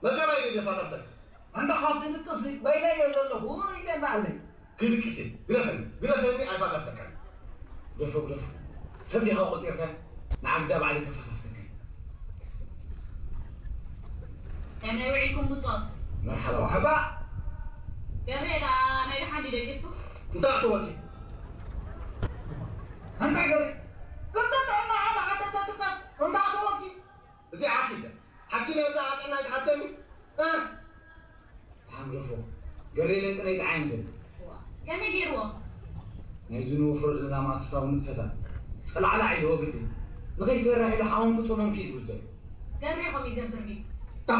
በቃ ባይ ደፋታተካ። ኣንታ ካብቲ ድቅሲ በይነዮ ዘለኹ ኢለ እንዳኣለይ። ክድቅሲ ግደፈኒ፣ ግደፈኒ ኣይፋታተካን። ግደፎ፣ ግደፎ። ሰብ ዲኻ ቆጢርካ ንዓግዳ ባዕለይ ከፋታትከካ። ከመይ ውዒልኩም ብጾት? መርሓባ፣ መርሓባ። ገሬ ደኣ ናይ ደሓን ድዩ ደቂሱ? እንታይ ኣተወኪ? ኣንታ ገሬ፣ ክልተ ጥዕና ሓዳ ሓደተ ትቀስ፣ እንታይ ኣተወኪ? እዚ ሓኪም፣ ሓኪም እየ፣ ብዛዕባ ጥዕና ትሓተኒ? እ? ሓምረፎ፣ ገሬ ለንቅነይ ተዓይንትን። ከመይ ገይርዎ? ናይዚ ንወፍሮ ዘለና ማእቶታዊ ንጥፈታት ጸላዕላዕ ኢልዎ ግዲ። ንኸይሰርሕ ኢሉ ሓወንኩ ጸመምኩ እዩ ዝብል ዘሎ። ገሬ ከምኡ ይገብር ድዩ? እንታይ